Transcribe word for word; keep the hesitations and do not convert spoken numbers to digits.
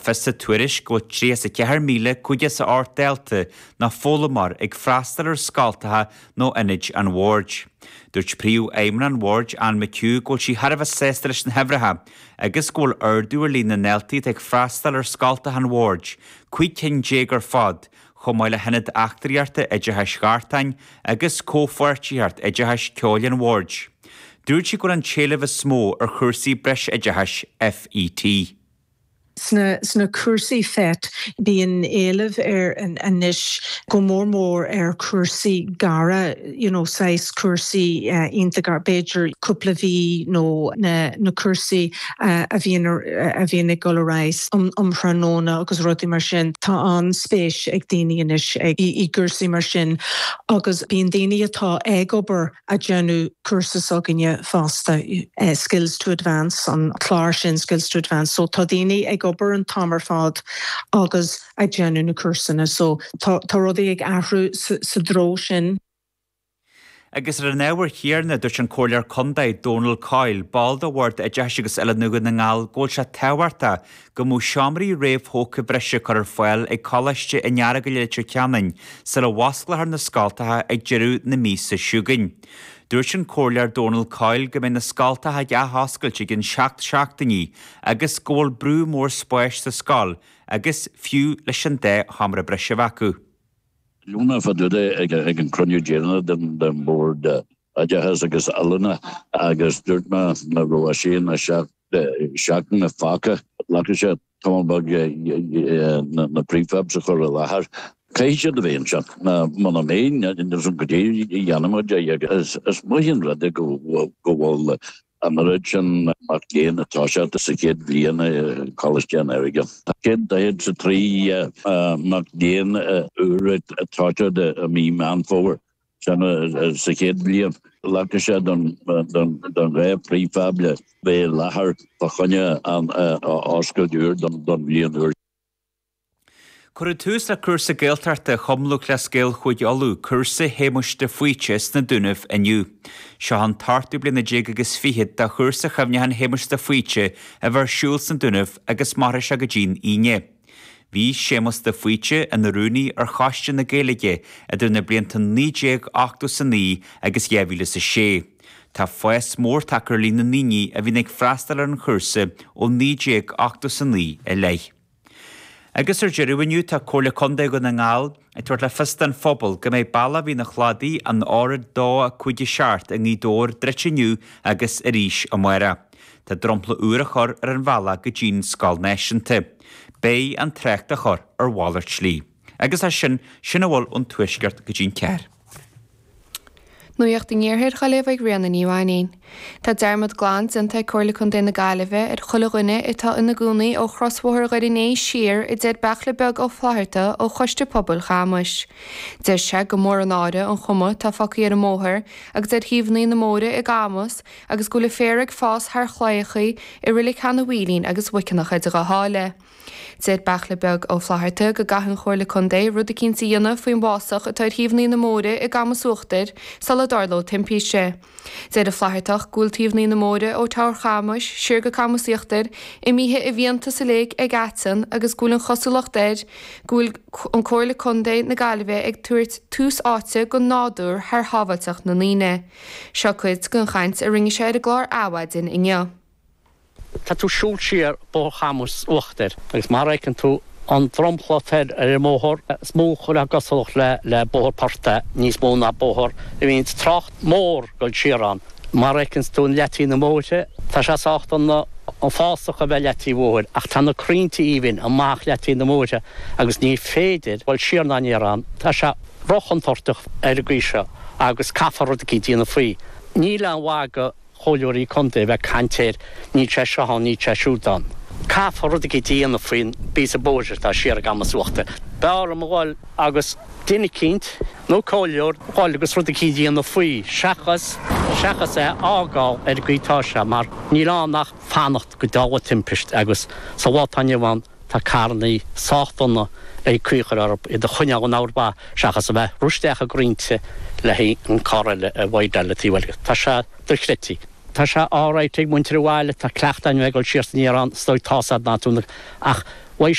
fios sa tuairisc go bhfuil tríocha is a ceathair míle cúig chéad is a ocht dalta nó foghlaimeoir ag freastal ar scoltacha nó ionaid an bhoird. Dúirt Príomhfheidhmeannach an bhoird Anne McHugh go bhfuil sí thar a bheith sásta leis na huimhreacha agus go bhfuil ardú ar líon na ndaltaí atá ag freastal ar scoltacha an bhoird, cúig cinn déag ar fad, chomh maith le hIonad Eachtraíochta Oideachais Ghartáin agus Comhpháirtíocht Oideachais Ceoil an Bhoird. Dúirt sí go bhfuil an t-éileamh is mó ar chúrsaí breisoideachais FET. Sna, sna cúrsaí FET bíonn éileamh ar anois go mór mór ar chúrsaí gearra you know, saghas cúrsaí uh, iontach b'fhéidir cúpla mí nó na, na cúrsaí uh, a bhíonn a bhíonn ag dul ar aghaidh um, um thráthnóna agus rudaí mar sin tá an-spéis ag daoine anois ag i, i gcúrsaí mar sin agus bíonn daoine atá ag obair ag déanamh cúrsa s'againne fosta uh, skills to advance an clár sin skills to advance so tá daoine ag obair an t-am ar fad agus ag déanamh na cúrsanna so tá tá rudaí ag athrú sa, sa treo sin. Agus ar an ábhar céanna dúirt an Comhairleoir Contae Donal Coyle, ball de Bhord Oideachais agus Oiliúna Dhún na nGall go bhfuil sé tábhachtach go mbeadh seomraí réamhthógtha breise curtha ar fáil ag Coláiste an Earagail i Leitir Ceanainn sula n-osclófar na scoltacha ag deireadh na míosa seo chugainn. Dúirt an Comhairleoir Donal Coyle go mbeidh na scoltacha ag athoscailt i gceann seacht seachtainí agus go bhfuil brú mór spáis sa scoil agus fiú leis an dá sheomra breise acu. Lúna fadúda ag ag an cruinniú deireanach den den bord oideachais agus oiliúna agus dúirt mé na raibh sé na seachtain na fágtha leis sé tamall beag na prefabs a chur i láthair. Caithfidh siad a bheith anseo muna mbeidh go dtí dhéanfaimid is is maith an rud go go bhfuil an rud sin mac léinn atá sé sa chéad bhliain Coláiste an Earagail. Céad daichead is a trí mac léinn úr atá i mí Meán Fómhair sin sa chéad bhliain. Leagfaidh sé don don dhá prefab le bheith i láthair fá choinne an oscailt úr don don bhliain úr. Cuireadh tús le cúrsa Gaeltachta Chumann Lúthchleas Gael Chúige Uladh, cúrsa Shéamuis de Faoite sna Dúnaibh inniu. Seo an t-ochtú bliana déag agus fiche de chúrsa chuimhneacháin Shéamuis de Faoite a bheith ar siúl sna Dúnaibh agus mairfidh sé go dtí'n Aoine. Bhí Séamus de Faoite ina rúnaí ar Choiste na Gaeilge idir na blianta naoi déag ochtó is a naoi agus dhá mhíle is a sé. Tá fás mór tagtha ar líon na ndaoine a bhíonn ag freastal ar an chúrsa ó naoi déag ochtó is a naoi i leith. Agus ar deireadh inniu tá Comhairle Contae Dhún na nGall ag tabhairt le fios don phobal go mbeidh bealach Mhín an Chladaigh an R dó a cúig a seacht i nGaoth Dobhair druidte inniu agus arís amárach. Tá dromchla úr á chur ar an bhealach go dtí'n Scoil Náisiúnta. Beidh an trácht á chur ar mhalairt slí. Agus as sin sin a bhfuil ón tuaisceart go dtí'n ceathair. Nuacht an Iarthair á léamh ag Ríona Ní Mhainín. Tá dearmad glan déanta ag Comhairle Contae na Gaillimhe ar chuile dhuine atá ina gcónaí ó chrosbhóthar Dhoire an Fhéich siar a deir Beachla Beag Ó Flatharta ó Choiste Pobail Chamais. Deir sé gur mór an náire an chuma atá fágtha ar an mbóthar agus ar thaobhanna na mbóithre i gCamus agus go bhfuil féar ag fás thar chlaíochaí i Reilig Sheanadh Mhaoilín agus Mhuiceanach idir dhá sháile. Deir Beachla Beag Ó Flatharta go gcaithfidh an Chomhairle Contae rud eicínt a dhéanamh faoin bhfásach atá ar thaobhanna na mbóithre i gCamus Uachtair sula dtarlóidh timpiste. Deir an Flathartach go bhfuil taobhanna na mbóithre ó Teamhair Chamais siar go Camus Íochtair imithe i bhfiántas uilig ag aiteann agus go bhfuil an chosúlacht air go bhfuil an Comhairle Contae na Gaillimhe ag tabhairt tús áite don nádúr thar shábháilteacht na ndaoine. Seo cuid den chaint a rinne sé ar an gclár Adhmhaidin inniu. Tá tú siúl siar Bóthar Chamuis Uachtair agus mar fheiceann tú an dromchla ar ar an mbóthar is mó chuile gosúlacht le le bóthar portaigh níos mó ná bóthar a bhíonn trácht mór dul siar ann. Mar fheiceann tú an leataobh na mbóithre tá sé sách an an fásach a bheith leataobh bóthair ach tá na crainnte aoibhinn amach leataobh na mbóithre agus ní féidir dul siar ná aniar ann. Tá sé róchontúirteach ar an gcaoi seo agus caithfear rud eicínt a dhéanamh faoi. Níl aon mhaith do chomhairleoirí contae a bheith ag caint air, níl sé seo ann, níl sé siúd ann. Caithfear rud eicínt a dhéanamh faoin bpíosa bóthair atá siar i gCamus Uachtair. B'fhearr liom a dhul agus duine eicínt nó comhairleoir a dhul agus rud eicínt a dhéanamh faoi seachas seachas é a fhágáil ar an gcaoi atá sé mar níl ann ach fanacht go dtarlóidh timpist agus sa lá atá inniu ann tá carrannaí sách dona ag caoi a chur orthu iad a choinneáil in ord mhaith seachas a bheith ag rith isteach i gcrainnte le haghaidh an carr eile a bhaighdeáil le taobh eile. Tá sé dochreidte. Tá sé alright ag muintir an bhaile, tá cleachtadh againn a bheith ag dul siar is aniar ann, is dóigh tá's a'd ná tú ach